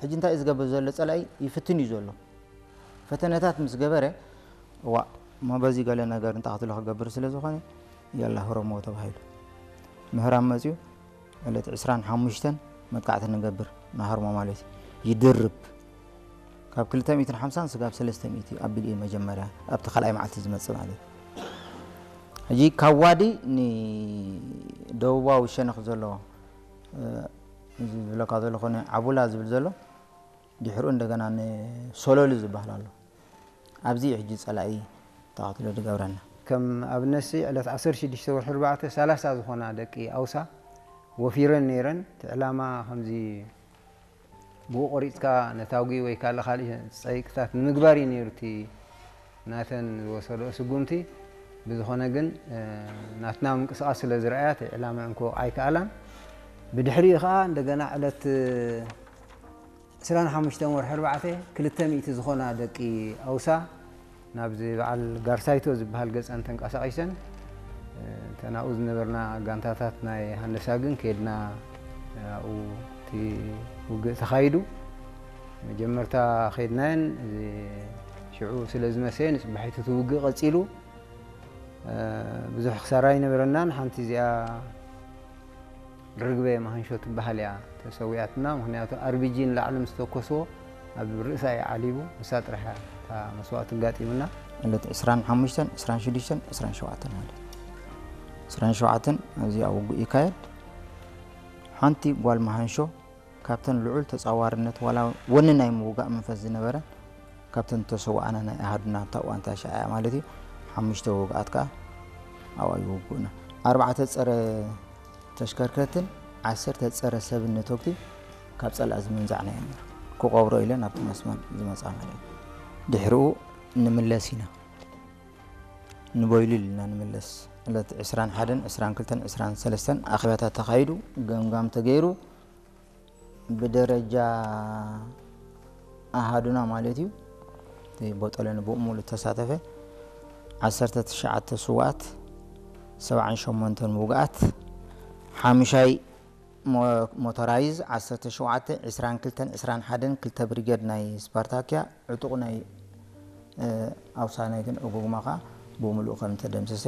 ሕጂ እንታይ እዩ ዝገብር ዘሎ? ጸላኢ ይፍትን እዩ ዘሎ። ፈተነታት ምስ ገበረ፣ እዋ፣ እሞ በዚ ገለ ነገር እንተ ክትብሎ ክገብር ስለ ዝኾነ፣ ያላ ህረሞ ተባሂሉ። ምህራም መጺኡ፣ ዕለት ዕስራን ሓሙሽተን መጥቃዕቲ ንገብር፣ ንሃርሞ ማለት እዩ። ይድርብ። ካብ ክልተ ሚእትን ሓምሳን ስጋብ ሰለስተ ሚእቲ ኣቢሉ እዩ መጀመርያ፣ ኣብቲ ካልኣይ መዓልቲ ዝመጽእ ማለት እዩ። ሕጂ ካብ ዋዲ ንደቡባዊ ሸነኽ ዘሎ፣ እ፣ እዚ ዝብለካ ዘለኹ ናይ ዓቡላ ዝብል ዘሎ፣ ድሕሩ እንደገና ንሶሎሊ ዝበሃል ኣሎ። ኣብዚ እዩ ሕጂ ጸላኢ ተቐትሎ ዝገብረና። ከም ኣብነትሲ ዕለት ዓሰርተ ሽዱሽተ ወርሒ ኣርባዕተ፣ ሰላሳ ዝኾና ደቂ ኣውሳ ወፊረን ነይረን። እቲ ዕላማ ከምዚ ብኡ ቆሪጽካ ነታጒ ወይ ካልእ ካልእ ጸይቅታት ንምግባር እዩ ነይሩ እቲ ናተን ዝወሰድኦ ስጉምቲ። ብዝኾነ ግን፣ እ፣ ናትና ምንቅስቓስ ስለ ዝረኣያ እቲ ዕላማ እንኮ ኣይከኣላን። ብድሕሪኡ ከኣ እንደገና ዕለት ዕስራን ሓሙሽተን ወርሒ ኣርባዕተ፣ ክልተ ሚእቲ ዝኾና ደቂ ኣውሳ ናብዚ በዓል ጋርሳይቶ ዝበሃል ገጸን ተንቀሳቒሰን፣ እ፣ እተን ኣብኡ ዝነበርና ጋንታታት ናይ ሃንደሳ ግን ከድና፣ ኣብኡ እቲ ውግእ ተኻይዱ። መጀመርታ ከድናየን፣ እዚ ሽዑ ስለ ዝመሰየ ንጽባሒቱ እቲ ውግእ ቀጺሉ። እ፣ ብዙሕ ክሳራ ኣይነበረናን። ሓንቲ እዚኣ ርግበ መሃንሾ ትበሃል እያ ተሰዊኣትና። ምኽንያቱ ኣር ቢ ጂ ንላዕሊ ምስ ተኮስዎ ኣብ ርእሳ እዩ ዓሊቡ። ንሳ ጥራሕ እያ እታ መስዋእቲ ኣጋጢሙና። ዕለት ዕስራን ሓሙሽተን፣ ዕስራን ሽዱሽተን፣ ዕስራን ሸውዓተን ማለት እዩ። ዕስራን ሸውዓተን ኣብዚ ኣብ ውግእ ይካየድ። ሓንቲ ጓል መሃንሾ ካብተን ልዑል ተጻዋርነት ዋላ ወኒ ናይ ምውጋእ መንፈስ ዝነበረን ካብተን ተሰዋኣና ናይ ኣሃዱና ኣብታ እዋን እታ ሻዕያ ማለት እዩ። ሓሙሽተ ውግኣት ከኣ ኣብኣ ይውግኡና። ኣርባዕተ ጸረ ተሽከርከርትን ዓሰርተ ጸረ ሰብን ነተጉቲ ካብ ጸላኢ ዝምንዛዕና እዮም ነይሩ። ክቐብሮ ኢለን ኣብቲ መስመር ዝመጻ ማለት እዩ። ድሕሪኡ ንምለስ ኢና። ንቦይሉል ኢና ንምለስ። ዕለት ዕስራን ሓደን፣ ዕስራን ክልተን፣ ዕስራን ሰለስተን ኣኼባታት ተኻይዱ፣ ገምጋም ተገይሩ፣ ብደረጃ ኣሃዱና ማለት እዩ፣ እቲ ቦጦሎኒ ብኡ ሙሉእ ተሳተፈ። ዓሰርተ ትሽዓተ ስውኣት፣ ሰብዓን ሸሞንተን ውግኣት፣ ሓሙሻይ ሞ-፣ ሞቶራይዝ፣ ዓሰርተ ሸውዓተ፣ ዕስራን ክልተን፣ ዕስራን ሓደን፣ ክልተ ብሪጌድ ናይ ስፓርታክያ፣ ዕጡቕ ናይ፣ እ፣ ኣውሳናይትን ዕጉጉማ ከኣ ብምሉኡ ከም ተደምሰሰ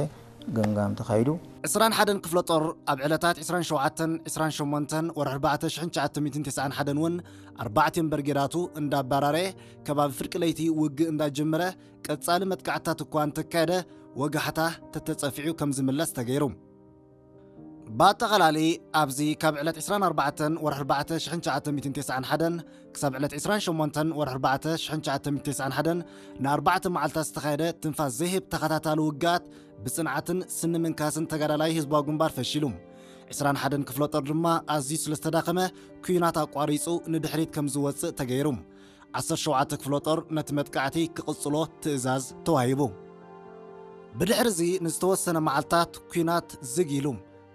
ገምጋም ተኻይዱ። ዕስራን ሓደን ክፍለ ጦር ኣብ ዕለታት ዕስራን ሸውዓተን፣ ዕስራን ሸሞንተን ወርሒ ኣርባዕተ ሽሕን ትሽዓተ ሚእትን ተስዓን ሓደን እውን ኣርባዕቲኦም በርጌዳቱ እንዳባራረየ ከባቢ ፍርቂ ለይቲ ውግእ እንዳጀመረ ቀጻሊ መጥቃዕትታት እኳ እንተካየደ ወጋሕታ ተተጸፊዑ ከም ዝምለስ ተገይሩ። ብኣጠቓላሊ ኣብዚ ካብ ዕለት ዕስራን ኣርባዕተን ወርሒ ኣርባዕተ ሽሕን ትሽዓተ ሚእትን ተስዓን ሓደን ክሳብ ዕለት ዕስራን ሸሞንተን ወርሒ ኣርባዕተ ሽሕን ትሽዓተ ሚእትን ተስዓን ሓደን ንኣርባዕተ መዓልታት ዝተኻየደ ትንፋስ ዘይህብ ተኸታታሊ ውግኣት ብጽንዓትን ስኒ ምንካስን ተጋዳላይ ህዝባዊ ግንባር ፈሺሉ። ዕስራን ሓደን ክፍለ ጦር ድማ ኣዝዩ ስለ ዝተዳኸመ ኲናት ኣቋሪጹ ንድሕሪት ከም ዝወጽእ ተገይሩ። ዓሰርተ ሸውዓተ ክፍለ ጦር ነቲ መጥቃዕቲ ክቕጽሎ ትእዛዝ ተዋሂቡ። ብድሕርዚ ንዝተወሰነ መዓልታት ኲናት ዝግ ኢሉ።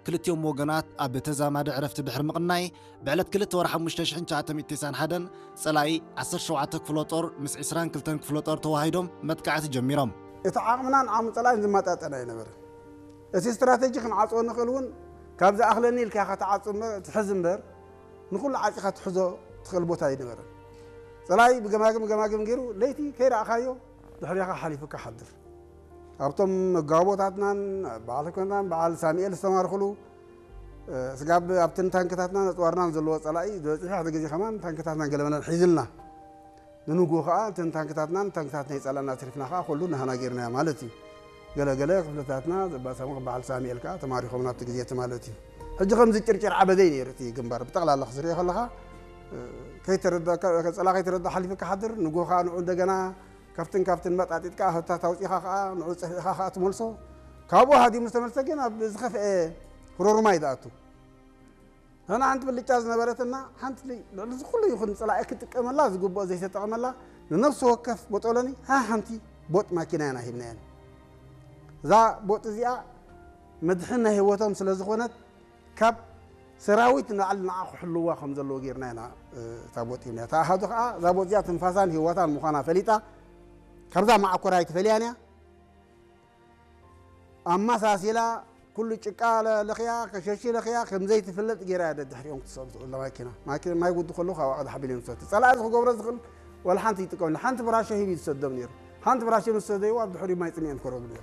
ክልቲኦም ወገናት ኣብ ተዛማዲ ዕረፍቲ ድሕሪ ምቕናይ፣ ብዕለት ክልተ ወርሒ ሓሙሽተ ሽሕን ትሽዓተ ሚእትን ተስዓን ሓደን ጸላኢ ዓሰርተ ሸውዓተ ክፍለ ጦር ምስ ዕስራን ክልተን ክፍለ ጦር ተዋሂዶም መጥቃዕቲ ጀሚሮም። እቲ ዓቕምናን ዓቕሚ ጸላኢን ዝመጣጠን ኣይነበረን። እቲ ስትራተጂ ክንዓጽዎ ንኽእል እውን ካብ ዝኣኽለኒ ኢልካ ኢኻ ትዓጹ እምበር፣ ትሕዝ እምበር፣ ንኹሉ ዓጺኻ ትሕዞ ትኽእል ቦታ ኣይነበረን። ጸላኢ ብገማግም ገማግም ገይሩ ለይቲ ከይረኣኻዮ ድሕሪኻ ሓሊፉካ ሓድር። ኣብቶም መጋቦታትናን በዓል ኮንታን በዓል ሳሙኤል ዝተማርኽሉ፣ እ፣ ስጋብ ኣብተን ታንክታትናን ኣጽዋርናን ዘለዎ ጸላኢ ዝበጽሕ ሓደ ግዜ ከማን ታንክታትናን ገለመለን ሒዝልና። ንንግሆ ከኣ እተን ታንክታትናን ታንክታት ናይ ጸላእና ኣትሪፍና ከኣ ኩሉ ናህና ጌርናዮ ማለት እዩ። ገለ ገለ ክፍልታትና ዘባሰሙ በዓል ሳሙኤል ከኣ ተማሪኾም ናብቲ ግዜ እቲ ማለት እዩ። ሕጂ ከምዚ ጭርጭር ዓበደይ ነይሩ እቲ ግንባር ብጠቕላላ ክትሪኦ ከለኻ፣ እ፣ ከይተረዳእካ፣ ጸላ ከይተረዳ ሓሊፉ ክሓድር፣ ንግሆ ከኣ ንዑ እንደገና ካብትን ካብትን መጣጢጥካ ህታት ኣውጺኻ ከኣ ንዑ ጸፊዕኻ ከኣ ትመልሶ። ካብኡ ሃዲሙ ዝተመልሰ ግን ኣብ ዝኸፍአ ሮሩማይ ዝኣቱ። ንሕና ሓንቲ ብልጫ ዝነበረትና፣ ሓንቲ ልዕሊ እዚ ኩሉ ይኹን ጸላኢ ክጥቀመላ ዝግብኦ ዘይተጠቐመላ፣ ንነፍሲ ወከፍ ቦጦሎኒ ሃ ሓንቲ ቦጥ ማኪና ኢና ሂብናየን። እዛ ቦጥ እዚኣ መድሕን ናይ ህይወቶም ስለ ዝኾነት፣ ካብ ሰራዊት ንላዕሊ ንዓ ክሕልዋ ከም ዘለዎ ጌርና ኢና፣ እ፣ እታ ቦጥ ሂብናያ። እታ ኣሃዱ ከኣ እዛ ቦጥ እዚኣ ትንፋሳን ህይወታን ምዃና ፈሊጣ፣ ካብዛ መዓኮር ኣይትፈልያን እያ። ኣመሳሲላ ኩሉ ጭቃ ለኽያ፣ ከሸሺ ለኽያ፣ ከም ዘይትፍለጥ ገይራ እያ ደድሕሪኦም ክትሰዱ ትኽእል ማኪና። ማኪና ማይ ጉዱ ከለዉ ካብ ኣቕዲ ሓቢል እዮም ዝሰዱ። ጸላኢ እዚ ክገብሮ ዝኽእል ወላ ሓንቲ ይጥቀም። ሓንቲ ብራሸ ሂቡ ዝሰዶም ነይሩ። ሓንቲ ብራሸ ምስ ሰደይዎ ኣብ ድሕሪኡ ማይ ጽምእን ከረቡ ነይሩ።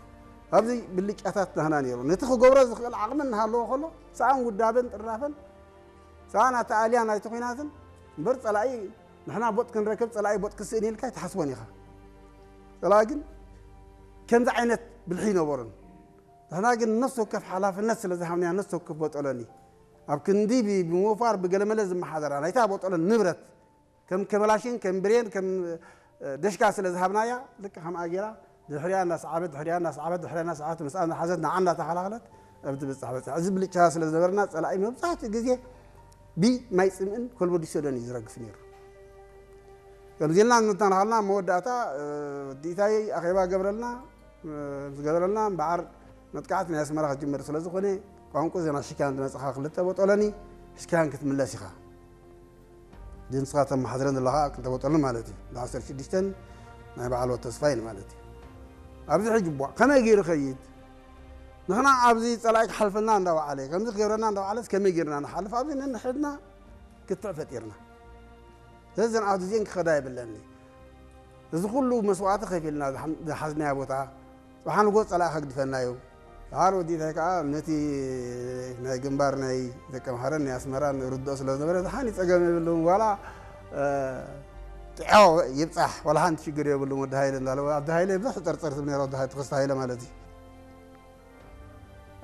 ኣብዚ ብልጫታት ናህና ነይሩ። ነቲ ክገብሮ ዝኽእል ዓቕሚ እናሃለዎ ከሎ፣ ሰኣን ውዳበን ጥራፈን፣ ሰኣን ኣተኣልያ ናይቲ ኲናትን እምበር ጸላኢ ንሕና ቦጥ ክንረክብ ጸላኢ ቦጥ ክስእን ኢልካ ኣይትሓስቦን ኢኻ። ጸላኢ ግን ከምዚ ዓይነት ብልሒ ይነበሮን። ንሕና ግን ነፍሲ ወከፍ ሓላፍነት ስለ ዝሃብናያ ነፍሲ ወከፍ ቦጦሎኒ ኣብ ክንዲ ብ-፣ ብምውፋር ብገለመለ ዝመሓደራ ናይታ ቦጦሎኒ ንብረት ከም ከበላሽን ከም ብሬን ከም ደሽካ ስለ ዝሃብናያ ልክ ከምኣ ጌራ ድሕሪያ እናሰዓበት ድሕሪያ እናሰዓበት ድሕሪያ እናሰዓበት ምስኣ እናሓዘት ንዓ እናተኸላኸለት ኣብ ትብጻሕ በጻሕ። እዚ ብልጫ ስለ ዝነበርና ጸላኢ መብዛሕትኡ ግዜ ብማይ ጽምእን ኮልቦ ዲሶዶን እዩ ዝረግፍ ነይሩ። ከምዚ ኢልና እናተናኸልና ኣብ መወዳእታ፣ እ፣ ወዲ ኢታይ ኣኼባ ገብረልና፣ እ፣ ምስ ገበረልና እምበኣር መጥቃዕቲ ናይ ኣስመራ ክጅምር ስለ ዝኾነ ቋንቁ ዜና ሽካን ዝመጽኻ ክልተ ቦጦሎኒ ሽካን ክትምለስ ኢኻ። ድምፅኻ ተመሓድረን ዘለኻ ክልተ ቦጦሎኒ ማለት እዩ። ብ ዓሰርተ ሽዱሽተ ናይ በዓል ወድ ተስፋይን ማለት እዩ። ኣብዚ ሕጂ ቧ ከመይ ገይሩ ኸይድ? ንሕና ኣብዚ ጸላኢ ክሓልፈና እንዳወዓለ፣ ከምዚ ክገብረና እንዳወዓለስ ከመይ ጌርና ንሓልፍ? ኣብዚ ነንሕድና ክትዕ ፈጢርና። ስለዚ እዘን ዓዲ እዚአን ክኸዳ የብለኒ። እዚ ኩሉ መስዋእቲ ከፊልና ዝሓ-፣ ዝሓዝናያ ቦታ፣ ጽባሕ ንጎ ጸላኢ ከግድፈና እዩ። ድሓር ወዲታይ ከኣ ነቲ ናይ ግንባር ናይ ደቀምሓረን ናይ ኣስመራን ርድኦ ስለ ዝነበረ፣ ዝሓኒ ጸገም የብሉን። ዋላ፣ እ፣ ጥዖ ይብጻሕ፣ ዋላ ሓንቲ ሽግር የብሉን። ወዲ ሃይለ እንዳለ፣ ወዲ ሃይለ ብዙሕ ትጠርጠር ትብል ነይራ፣ ወዲ ሃይለ፣ ተኸስተ ሃይለ ማለት እዩ።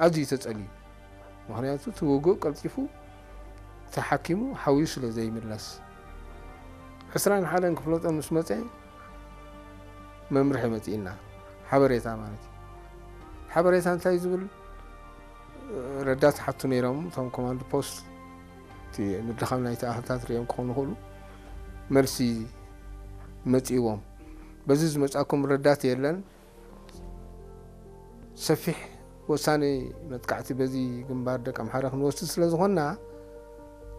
ኣዝዩ ተጸልዩ። ምኽንያቱ እቲ ውግእ ቀልጢፉ ተሓኪሙ ሓውዩ ስለ ዘይምለስ። ዕስራን ሓደን ክፍለ ጦር ምስ መጸ መምርሒ መጺእና። ሓበሬታ ማለት እዩ። ሓበሬታ እንታይ ዝብል? ረዳት ሓቱ ነይሮም፣ እቶም ኮማንድ ፖስት፣ እቲ ምድኻም ናይቲ ኣኽልታት ሪኦም ክኾኑ ይኽእሉ። መልሲ መጺእዎም። በዚ ዝመጻኩም ረዳት የለን። ሰፊሕ ወሳኒ መጥቃዕቲ በዚ ግንባር ደቂ ኣምሓራ ክንወስድ ስለ ዝኾንና፣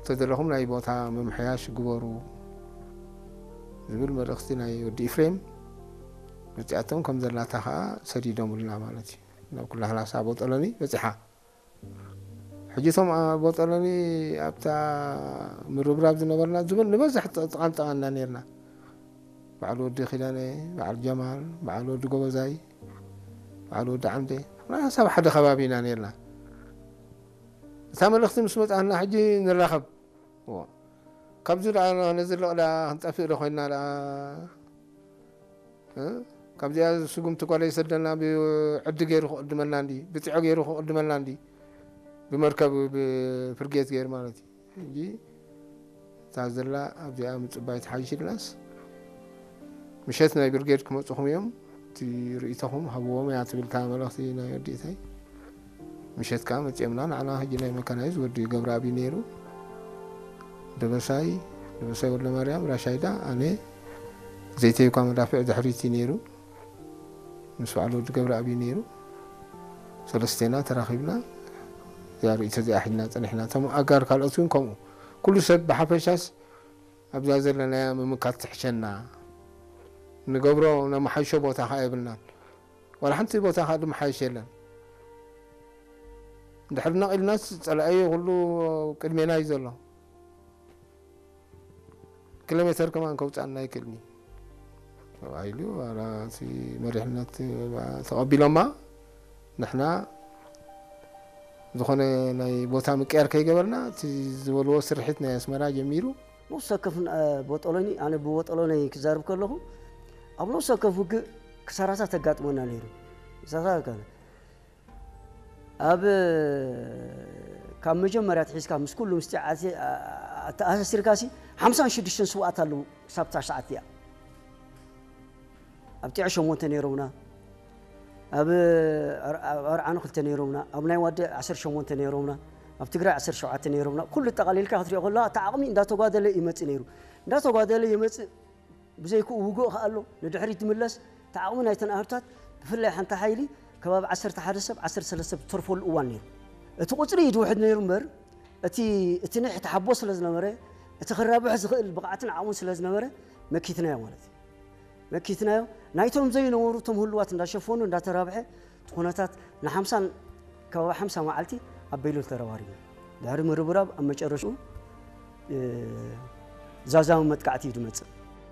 ተደለኹም ናይ ቦታ ምምሕያሽ ግበሩ ዝብል መልእኽቲ ናይ ወዲ ኢፍሬም መጺኣቶም ከም ዘላታ ኸኣ ሰዲዶምልና ማለት እዩ። ናብ ኩላ ላሳ ቦጠሎኒ በጺሓ። ሕጂ እቶም ኣብ ቦጠሎኒ ኣብታ ምርብራብ ዝነበርና ዝብል ንበዝሕ ጠ-፣ ጠቓንጠቓና ነርና። በዓል ወዲ ኪዳነ፣ በዓል ጀማል፣ በዓል ወዲ ጎበዛይ፣ በዓል ወዲ ዓምደ፣ ሓሳብ ሓደ ከባቢ ኢና ነርና። እታ መልእኽቲ ምስ መጽኣና ሕጂ ንራኸብ። እዎ። ካብዚ ደኣ ነዚ ለቕ ደኣ ክንጠፍእ ዶ ኮይንና ደኣ? እ? ካብዚኣ ስጉምቲ ጓለይ ሰደና ብዕዲ ገይሩ ክቕድመልና እንዲ፣ ብጥዖ ገይሩ ክቕድመልና እንዲ፣ ብመርከብ፣ ብፍርጌት ገይሩ ማለት እዩ። ሕጂ እታ ዘላ ኣብዚኣ ምጽባይ ትሓይሽ ኢልናስ፣ ምሸት ናይ ብርጌድ ክመጹኹም እዮም፣ እቲ ርእይቶኹም ሃብዎም እያ ትብል እታ መልእኽቲ ናይ ወዲእታይ። ምሸት ከኣ መጺኦምና፣ ንዓና ሕጂ ናይ መካናይዝ ወዲ ገብረኣብ እዩ ነይሩ። ደበሳይ፣ ደበሳይ ወልደማርያም፣ ራሻይዳ፣ ኣነ፣ ዘይተይኳ መዳፍዕ ድሕሪት እዩ ነይሩ። ምስ በዓል ወዲ ገብረኣብ እዩ ነይሩ። ሰለስቴና ተራኺብና እዛ ርእይቶ እዚኣ ሒዝና ጸኒሕና። እቶም ኣጋር ካልኦት እውን ከምኡ። ኩሉ ሰብ ብሓፈሻስ ኣብዛ ዘለናያ ምምካት ትሕሸና። ንገብሮ ነመሓይሾ ቦታ ኸኣ የብልናን። ዋላ ሓንቲ ቦታ ኸኣ ዝመሓየሽ የለን። እንድሕር ነቒልናስ ጸላኢ ኩሉ ቅድሜና እዩ ዘሎ። ኪሎ ሜተር ከማን ከውጽኣና ኣይክእልን እዩ ተባሂሉ፣ ዋላ እቲ መሪሕነት ተቐቢሎማ። ንሕና ዝኾነ ናይ ቦታ ምቅያር ከይገበርና፣ እቲ ዝበልዎ ስርሒት ናይ ኣስመራ ጀሚሩ። ነፍሲ ወከፍ፣ እ፣ ቦጦሎኒ፣ ኣነ ብቦጦሎኒ ክዛረብ ከለኹ፣ ኣብ ነፍሲ ወከፍ ውግእ ክሳራታት ተጋጥመና ነይሩ። ክሳራታት ከ-፣ ኣብ፣ ካብ መጀመርያ ኣትሒዝካ ምስ ኩሉ ምስቲ ዓሲ-፣ ኣ-፣ ኣተኣሳሲርካሲ ሓምሳን ሽዱሽተን ስውኣት ኣለዉ ክሳብ እታ ሰዓት እቲኣ። ኣብ ጢዖ ሸሞንተ ነይሮምና፣ ኣብ ኣር-፣ ኣብ ኣርዓኑ ክልተ ነይሮምና፣ ኣብ ናይ ዋደ ዓሰርተ ሸሞንተ ነይሮምና፣ ኣብ ትግራይ ዓሰርተ ሸውዓተ ነይሮምና። ኩሉ ጠቓሊልካ ክትሪኦ ከለኻ እቲ ዓቕሚ እንዳተጓደለ ይመጽእ ነይሩ። እንዳተጓደለ ይመጽእ። ብዘይክኡ ውግእ ከኣ ኣሎ፣ ንድሕሪት ዝምለስ። እቲ ዓቕሚ ናይተን ኣህዱታት፣ ብፍላይ ሓንቲ ሓይሊ ከባቢ ዓሰርተ ሓደ ሰብ፣ ዓሰርተ ሰለስተ ሰብ ዝተርፈሉ እዋን ነይሩ። እቲ ቁጽሪ እዩ ዝውሕድ ነይሩ እምበር፣ እቲ፣ እቲ ኒሕ፣ እቲ ሓቦ ስለ ዝነበረ፣ እቲ ክራብሕ ዝኽእል ብቕዓትን ዓቕሙን ስለ ዝነበረ፣ መኪትናዮ ማለት እዩ። መኪትናዮ፣ ናይቶም ዘይነበሩ እቶም ህሉዋት እንዳሸፈኑ፣ እንዳተራብሐ፣ እቲ ኩነታት ንሓምሳን ከባቢ ሓምሳ መዓልቲ ኣብ በይሉል ተረባሪብና። ድሕሪ ምርብራብ ኣብ መጨረሽኡ እ፣ ዛዛሚ መጥቃዕቲ እዩ ዝመጽእ።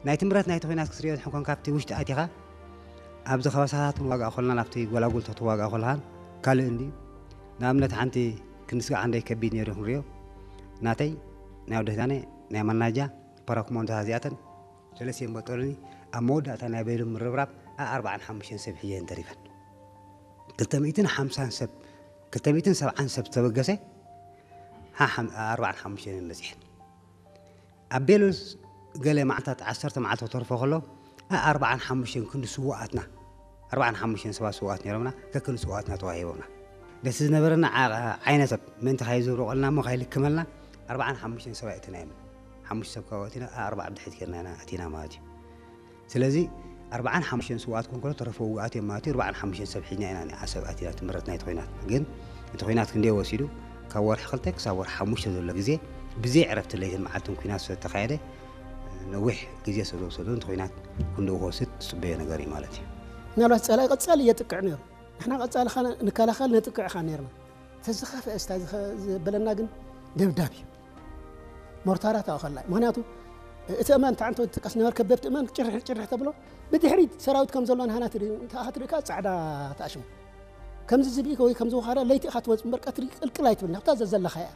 ናይቲ ምረት ናይቲ ኹናት ክትሪኦ ትሕኮን ካብቲ ውሽጢ ኣቲኻ ኣብዚ ከባሳታት ክንዋጋእ ከለና ናብቲ ጎላጉል ተትዋጋእ ከለኻን ካልእ እንዲ ንኣብነት ሓንቲ ክንስጋዕ እንደይ ከቢድ ነይሩ ክንሪኦ ናተይ ናይ ወደህዳነ ናይ መናጃ ፓራኩማንዶታት እዚኣተን ሰለስቲኤን በጠሉኒ ኣብ መወዳእታ ናይ በይሉ ምርብራብ ኣርባዓን ሓሙሽተን ሰብ ሒዘን ተሪፈን ክልተ ሚእትን ሓምሳን ሰብ ክልተ ሚእትን ሰብዓን ሰብ ተበገሰ ኣርባዓን ሓሙሽተን በፂሐን ኣብ ቤሉስ ገለ መዓልታት ዓሰርተ መዓልቲ ክተርፎ ከሎ ኣርባዓን ሓሙሽተን ክንዲ ስዋኣትና ኣርባዓን ሓሙሽተን ሰባት ስዋኣት ነይሮምና ከክንዲ ስዋኣትና ተዋሂቦምና ደስ ዝነበረና ዓይነሰብ ምእንቲ ካይዝብርቆልና እሞ ካይልክመልና ኣርባዓን ሓሙሽተን ሰባት እትናዮም ሓሙሽተ ሰብ ካብ ኣቲና ኣርባዓ ብድሕሪት ጌርና ኢና ኣቲና ማለት እዩ ስለዚ ኣርባዓን ሓሙሽተን ስውኣት ኮንኮሎ ተረፈ ውግኣት እዮም ማለት እዩ ኣርባዓን ሓሙሽተን ሰብ ሒዝና ኢና ንዓሰብ ኣቲና ትምህርት ናይ ተኮይናት ግን እቲ ኮይናት ክንደይ ወሲዱ ካብ ወርሒ ክልተ ክሳብ ወርሒ ሓሙሽተ ዘሎ ግዜ ብዘይ ዕረፍቲ ለይትን መዓልትን ኩናት ስለ ተካየደ ነዊሕ ግዜ ስለ ዝወሰዱ እቲ ኮይናት ክንደኡ ክወስድ ዝፅበዮ ነገር እዩ ማለት እዩ ምናልባት ፀላኢ ቀፃሊ እየጥቅዕ ነይሩ ንሕና ቀፃሊ ንከላኸል ነጥቅዕ ኻ ነርና ተዝኸፍአ ስታ ዝበለና ግን ደብዳብ እዩ ሞርታራ ተኣኸላ ምክንያቱ እቲ እማን ተዓንቶ ትጥቀስ ነበርከ በብቲ እማን ጭርሕ ጭርሕ ተብሎ ብድሕሪት ሰራዊት ከም ዘሎ ንሃና ትርኢ እንተ ኣኻ ትርኢ ከዓ ፃዕዳ ተኣሽሙ ከምዚ ዝብኢ ወይ ከምዚ ውኻዳ ለይቲ ኢኻ ትወፅ እምበር ቀትሪ ቅልቅል ኣይትብል ናብታ ዘዘለኻ እያ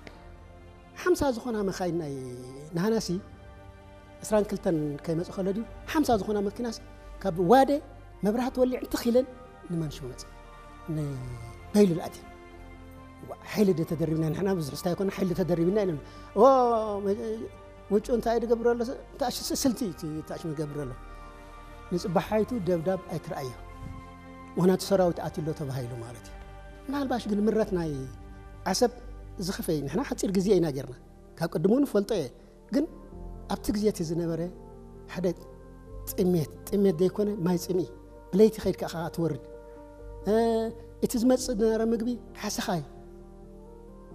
ሓምሳ ዝኾና መኻይን ናይ ንሃናሲ ዕስራን ክልተን ከይመፅ ከሎ ድዩ ሓምሳ ዝኾና መኪናሲ ካብ ዋደ መብራህቲ ወሊዕ እንትኺለን ንመንሽው መፅ ንበይሉ ልኣትየን ሓይሊ ደ ተደሪብና ንሕና ብዙሕ ስታይ ኮነ ሓይሊ ተደሪብና ኢለን ውጩ እንታይ ዝገብር ኣሎ ስልቲ ታሽም ዝገብር ኣሎ ንፅባሓይቱ ደብዳብ ኣይትረኣዮ ምክንያቱ ሰራዊት ኣትሎ ተባሂሉ ማለት እዩ ምናልባሽ ግን ምረት ናይ ዓሰብ ዝኸፈይ ንሕና ሓፂር ግዜ ኢና ጌርና ካብ ቅድሙ ንፈልጦ እየ ግን ኣብቲ ግዜ እቲ ዝነበረ ሓደ ጥሜት ጥሜት ዘይኮነ ማይ ፅምኢ ብለይቲ ከይድ ከዓ ትወርድ እቲ ዝመፅእ ዝነበረ ምግቢ ሓሰኻ እዩ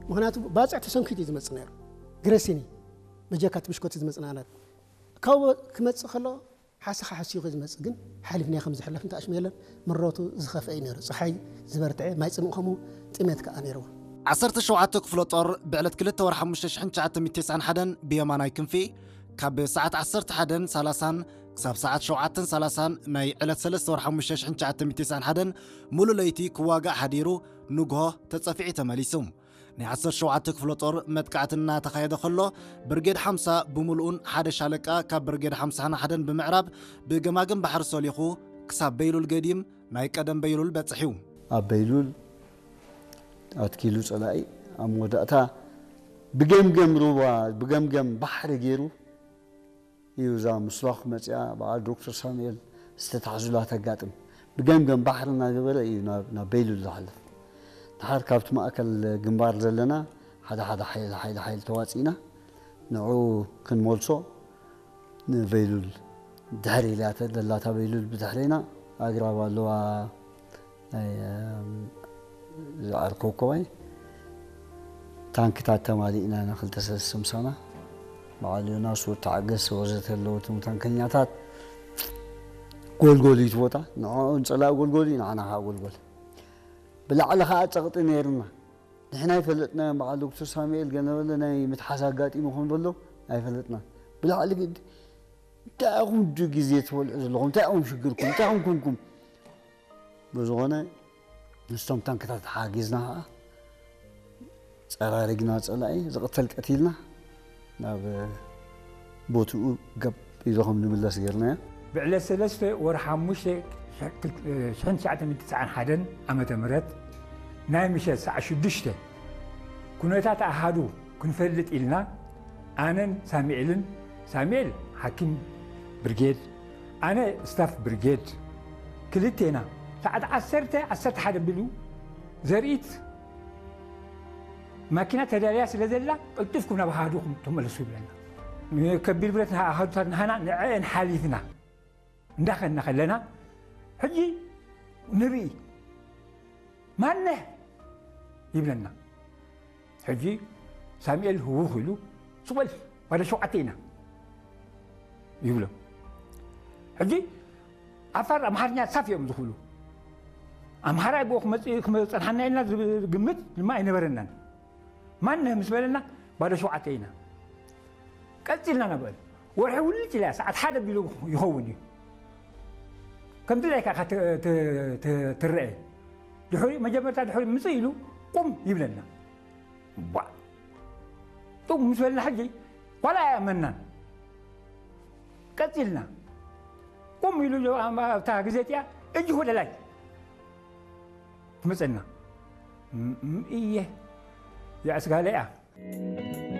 ምክንያቱ ባፅዕ ተሰንኪቱ እዩ ዝመፅእ ነይሩ ግረሲኒ በጀካ እቲ ብሽኮቲ ዝመፅእ ናለት ካብኡ ክመፅእ ከሎ ሓሰኻ ሓሲኹ ዝመፅእ ግን ሓሊፍና ከም ዝሕለፍ እንተኣሽሙ የለን ምረቱ ዝኸፍአ እዩ ነይሩ ፀሓይ ዝበርትዐ ማይ ፅምእ ከምኡ ጥሜት ከዓ ነይርዎ ዓሰርተ ሸውዓተ ክፍለ ጦር ብዕለት ክልተ ወርሒ ሓሙሽተ ሽሕን ትሽዓተ ሚእትን ተስዓን ሓደን ብየማናይ ክንፊ ካብ ሰዓት ዓሰርተ ሓደን ሰላሳን ክሳብ ሰዓት ሸውዓተን ሰላሳን ናይ ዕለት ሰለስተ ወርሒ ሓሙሽተ ሽሕን ትሽዓተ ሚእትን ተስዓን ሓደን ሙሉ ለይቲ ክዋጋእ ሓዲሩ ንግሆ ተጸፊዑ ተመሊሱ። ናይ ዓሰርተ ሸውዓተ ክፍለ ጦር መጥቃዕቲ እናተኻየደ ከሎ ብርጌድ ሓምሳ ብምሉኡን ሓደ ሻለቃ ካብ ብርጌድ ሓምሳን ሓደን ብምዕራብ ብገማግም ባሕሪ ሰሊኹ ክሳብ በይሉል ገዲም ናይ ቀደም በይሉል በጽሕ እዩ። ኣብ በይሉል ኣትኪሉ ጸላኢ ኣብ መወዳእታ ብገምገም ሩባ ብገምገም ባሕሪ ገይሩ እዩ እዛ ምስሏኽ መፅያ በዓል ዶክተር ሳሙኤል ዝተታሕዙላ ተጋጥም ብገምገም ባሕሪ እናገበረ እዩ ናብ በይሉል ዝሓልፍ ድሓር ካብቲ ማእከል ግንባር ዘለና ሓደ ሓደ ሓይሊ ሓይሊ ሓይሊ ተዋፂእና ንዑ ክንመልሶ ንበይሉል ድሕሪ ኢላተ ደላታ በይሉል ብድሕሪና ኣግራብ ኣለዋ ናይ ዝዓርከው ኮባይ ታንክታት ተማሊእና ኢና ክልተ ሰለስተ ምሳና በዓል ዮናስ ወተዓገስ ወዘተ ኣለዉ እቶም ታንከኛታት ጎልጎል እዩ እቲ ቦታ ንዕኦም ፀላእ ጎልጎል እዩ ንዓና ከዓ ጎልጎል ብላዕሊ ከዓ ፀቕጢ ነይርና ንሕና ይፈለጥናዮም በዓል ዶክተር ሳሙኤል ገነበለ ናይ ምትሓዝ ኣጋጢሙ ከም ዘሎ ኣይፈለጥና ብላዕሊ ግዲ እንታይ ኢኹም ዱ ግዜ ትበልዑ ዘለኹም እንታይ ኢኹም ሽግርኩም እንታይ ኢኹም ኩንኩም ብዝኾነ ምስቶም ታንክታት ሓጊዝና ከዓ ፀራሪግና ፀላኢ ዝቕተል ቀቲልና ናብ ቦትኡ ገብ ኢሉ ከም ንምለስ ገርናዮ ብዕለት ሰለስተ ወርሒ ሓሙሽተ ሽሕን ትሽዓተ ሚእትን ትስዓን ሓደን ዓመተ ምህረት ናይ ምሸት ሰዓት ሽዱሽተ ኩነታት ኣሃዱ ክንፈልጥ ኢልና ኣነን ሳሙኤልን ሳሙኤል ሓኪም ብርጌድ ኣነ ስታፍ ብርጌድ ክልቴና ሰዓት ዓሰርተ ዓሰርተ ሓደ ቢሉ ዘርኢት ማኪና ተዳልያ ስለ ዘላ ቅልጥፍኩም ናብ ኣሃዱኹም ተመለሱ ይብለና ከቢድ ብረት ኣሃዱታት ንሃና ንዐአን ሓሊፍና እንዳኸና ከለና ሕጂ ንርኢ ማነህ ይብለና ሕጂ ሳሙኤል ህውኽ ኢሉ ስቕ በል ዋደ ሸውዓተ ኢና ይብሎ ሕጂ ዓፋር ኣምሓርኛ ሳፍ እዮም ዝኽእሉ ኣምሓራይ ብኡ ክመፅእ ክመፀንሓና ኢልና ዝግምት ድማ ኣይነበረናን። ማን ምስ በለና ባዶ ሸውዓተ ኢና። ቀፂልና ናብአን ወርሒ ውልጭ ኢላ ሰዓት ሓደ ቢሉ ይኸውን እዩ። ከምቲ ላይካ ኢኻ ት- ት- ት- ትረአ። ድሕሪ መጀመርታ ድሕሪ ምፅእ ኢሉ ቁም ይብለና። ቧ ጡም ምስ በልና ሕጂ ዋላ ኣያመናን ቀፂልና ቁም ኢሉ ኣብታ ግዜ እቲኣ እጅ ወደ ላይ ትመፀና። እየ የዕስጋለ እያ።